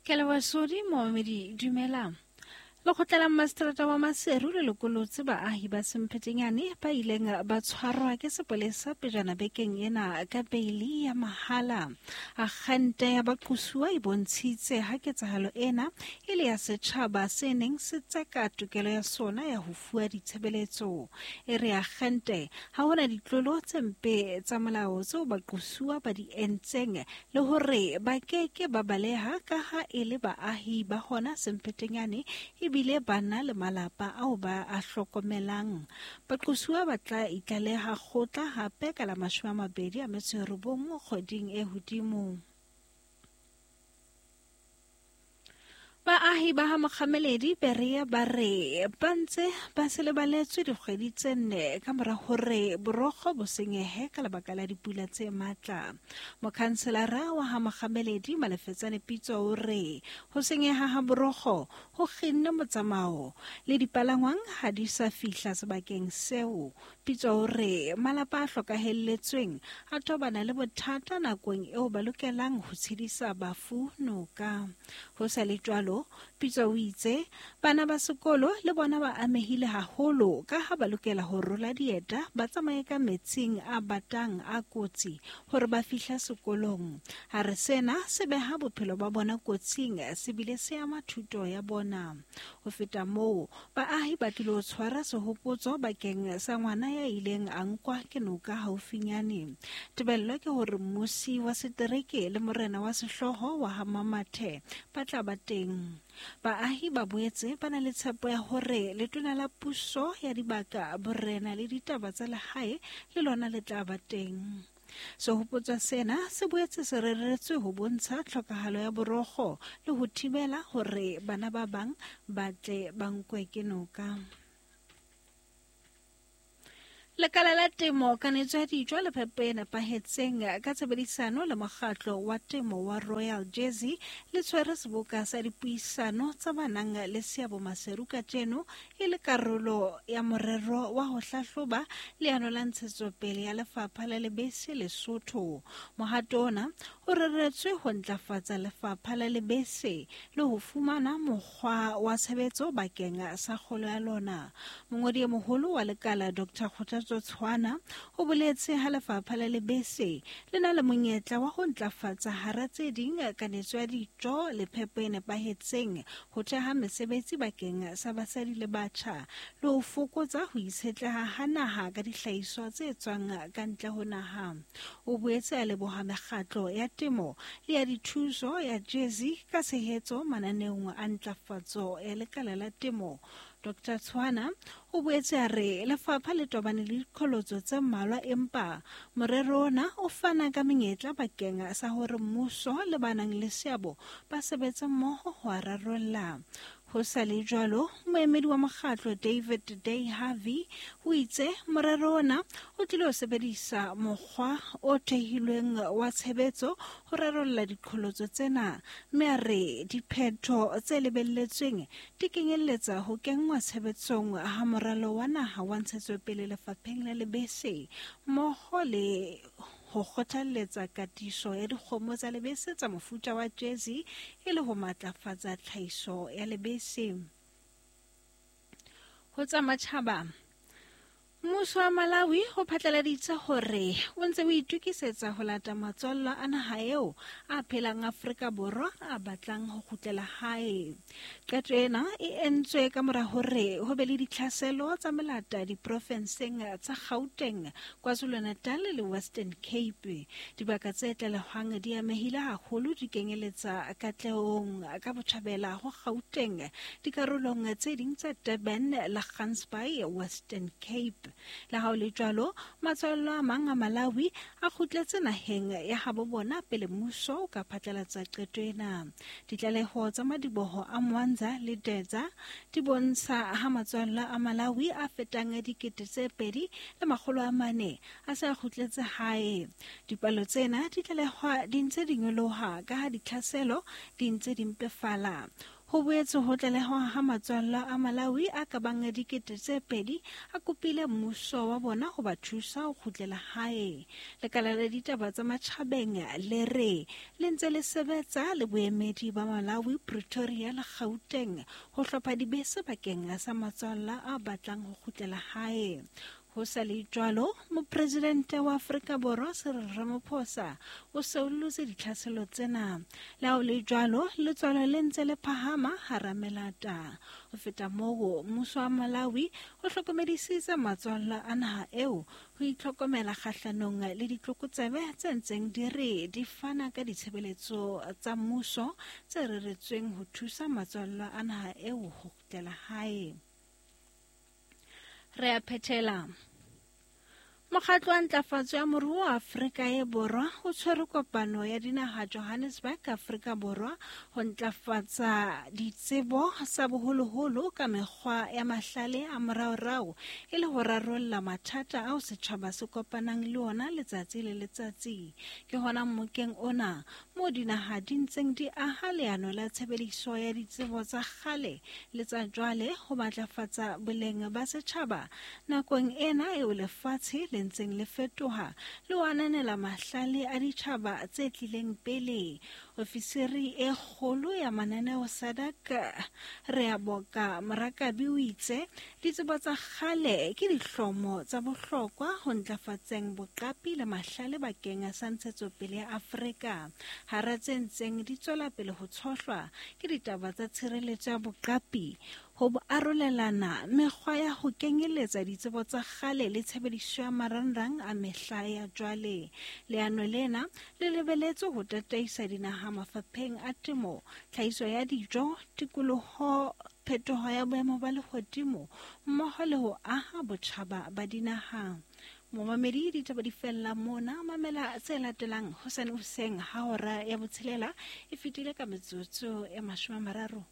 Ke leboha Sodi momamedi dumela. Lekgotla la Mmaseterata wa Maseru le lokolotse baahi ba Semphetenyane ba ileng ba tshwarwa ke sepolesa pejana bekeng ena ka beili ya mahala. Akgente ya baqosuwa e bontshitse ha ketsahalo ena e le ya setjhaba se neng se tseka tokelo ya sona ya ho fuwa ditshebeletso. E re akgente ha hona ditlolo tse mpe tsa molao tseo baqosuwa ba di entseng le hore ba ke ke ba baleha ka ha e le baahi ba hona Semphetenyane ebile ba na le malapa ao ba a hlokomelang. Baqosuwa ba tla itlaleha kgotla hape ka la 29 kgweding e hodimo. Baahi ba ha Mokgameledi Berea ba re ba ntse ba se lebaletswe dikgwedi tse nne ka mora hore borokgo bo senyehe ka lebaka la dipula tse matla. Mokhanselara wa ha Mokgameledi Malefetsane Pitso o re ho senyeha ha borokgo ho kginne motsamao le dipalangwang ha di sa fihla sebakeng seo. Pitso o re malapa a hlokahelletsweng a tobana le bothata nakong eo ba lokelang ho tshedisa bafu noka. Ho sa le jwalo, Pitso o itse bana ba sekolo le bona ba amehile haholo ka ha ba lokela ho rola dieta ba tsamaye ka metsing a batang a kotsi hore ba fihla sekolong. A re sena se beha bophelo ba bona kotsing se bile se ama thuto ya bona. Ho feta moo, baahi ba tlilo tshwara sehopotso bakeng sa ngwana ya ileng a nkwa ke noka haufinyane. Tebello ke hore mmusi wa setereke le morena wa sehlooho wa ha Mamathe ba tla ba teng. Baahi ba boetse ba na le tshepo ya hore letona la puso ya dibaka, borena le ditaba tsa lehae le lona le tla ba teng. Sehopotso sena se boetse se reretswe ho bontsha tlhokahalo ya borokgo le ho thibela hore bana ba bang ba tle ba nkwe ke noka. Lekala la temo, kanetso ya dijo le phepo e nepahetseng ka tshebedisano le mokgatlo wa temo wa Royal Jersey le tshwere seboka sa dipuisano tsa ba nang le seabo Maseru kajeno e le karolo ya morero wa ho hlahloba leano la ntshetsopele ya lefapha la lebese Lesotho. Mohato ona o reretswe ho ntlafatsa lefapha la lebese le ho fumana mokgwa wa tshebetso bakeng sa kgolo ya lona. Mongodi e moholo wa lekala Dr. Kgothatso Tshwana o boletse ha lefapha la lebese le na le monyetla wa ho ntlafatsa hara tse ding kanetso ya dijo le phepo e nepahetseng ho theha mesebetsi bakeng sa basadi le batjha le ho fokotsa ho itshetleha ha naha ka dihlahiswa tse tswang ka ntle ho naha. O boetse a leboha mekgatlo ya temo le ya dithuso ya Jersey ka tshehetso mananeong a ntlafatso ya lekala la temo. Dr Tshwana o boetse a re lefapha le tobane le diqholotso tse mmalwa empa morero ona o fana ka menyetla bakeng sa hore mmuso le ba nang le seabo ba sebetse mmoho ho a rarolla. Ho sa le jwalo, moemedi wa mokgatlo David Day Harvey o itse morero ona o tlile ho sebedisa mokgwa o thehilweng wa tshebetso ho rarolla diqholotso tsena mme a re diphetho tse lebelletsweng di kenyelletsa ho kenngwa tshebetsong ha moralo wa naha wa ntshetsopele lefapheng la lebese mmoho le ho kgothalletsa katiso ya dikgomo tsa lebese tsa mofuta wa Jersey e le ho matlafatsa tlhahiso ya lebese. Ho tsa matjhaba, Mmuso wa Malawi o phatlaladitse hore o ntse o itokisetsa ho lata matswallwa a naha eo a phelang Afrika Borwa a batlang ho kgutlela hae. Qeto ena e entswe ka mora hore ho be le ditlhaselo tsa melata diprofenseng tsa Gauteng, KwaZulu-Natal le Western Cape. Dibaka tse tlalehwang di amehile haholo di kenyeletsa Katlehong ka botjhabela ho Gauteng, dikarolong tse ding tsa Durban le Gansbaai, Western Cape. Le ha ho le jwalo, matswallo a mang a Malawi a kgutletse naheng ya habo bona pele mmuso o ka phatlalatsa qeto ena. Ditlaleho tsa madiboho a Mwanza le Dedza di bontsha ha matswallo a Malawi a fetang 2400 a se a kgutletse hae. Dipalo tsena di tlalehwa di ntse di nyoloha ka ha ditlhaselo di ntse di mpefala. Ho boetse ho tlalehwa ha matswalla a Malawi a ka bang 2,000 a kopile mmuso wa bona ho ba thusa ho kgutlela hae. Lekala la ditaba tsa matjhabeng le re le ntse le sebetsa le boemedi ba Malawi Pretoria le Gauteng ho hlopha dibese bakeng sa matswalla a batlang ho kgutlela hae. Ho sa le jwalo, mopresidente wa Afrika Borwa Cyril Ramaphosa o seollotse ditlhaselo tsena. Le ha ho le jwalo, letswalo le ntse le phahama hara melata. Ho feta moo, mmuso wa Malawi o hlokomedisitse matswalla a naha eo ho itlhokomela kgahlanong le ditlokotsebe tse ntseng di re di fana ka ditshebeletso tsa mmuso tse reretsweng ho thusa matswalla a naha eo ho kgutlela hae. Re a phethela. Mokgatlo wa ntlafatso ya moruo wa Afrika e Borwa o tshwere kopano ya dinaha Johannesburg, Afrika Borwa ho ntlafatsa ditsebo tsa boholoholo ka mekgwa ya mahlale a moraorao e le ho rarolla mathata ao setjhaba se kopanang le ona letsatsi le letsatsi. Ke hona mmokeng ona moo dinaha di ntseng di aha leano la tshebediso ya ditsebo tsa kgale le tsa jwale ho matlafatsa boleng ba setjhaba nakong ena eo lefatshe le ntseng le fetoha le ho ananela mahlale a ditjhaba tse tlileng pele. Ofisiri e kgolo ya mananeo SADC Reaboka Morakabi o itse ditsebo tsa kgale ke dihlomo tsa bohlokwa ho ntlafatseng boqapi le mahlale bakeng sa ntshetsopele ya Afrika. Hara tse ntseng di tswela pele ho tshohlwa ke ditaba tsa tshireletso ya boqapi, ho bo arolelana mekgwa ya ho kenyeletsa ditsebo tsa kgale le tshebediso ya marangrang a mehla ya jwale. Leano lena le lebeletswe ho tataisa dinaha mafapheng a temo, tlhahiso ya dijo, tikoloho, phetoho ya boemo ba lehodimo mmoho le ho aha botjhaba ba dinaha. Momamedi, ditaba di fella mona. Mamela tse latelang hosane hoseng ha hora ya botshelela e fetile ka metsotso e 30.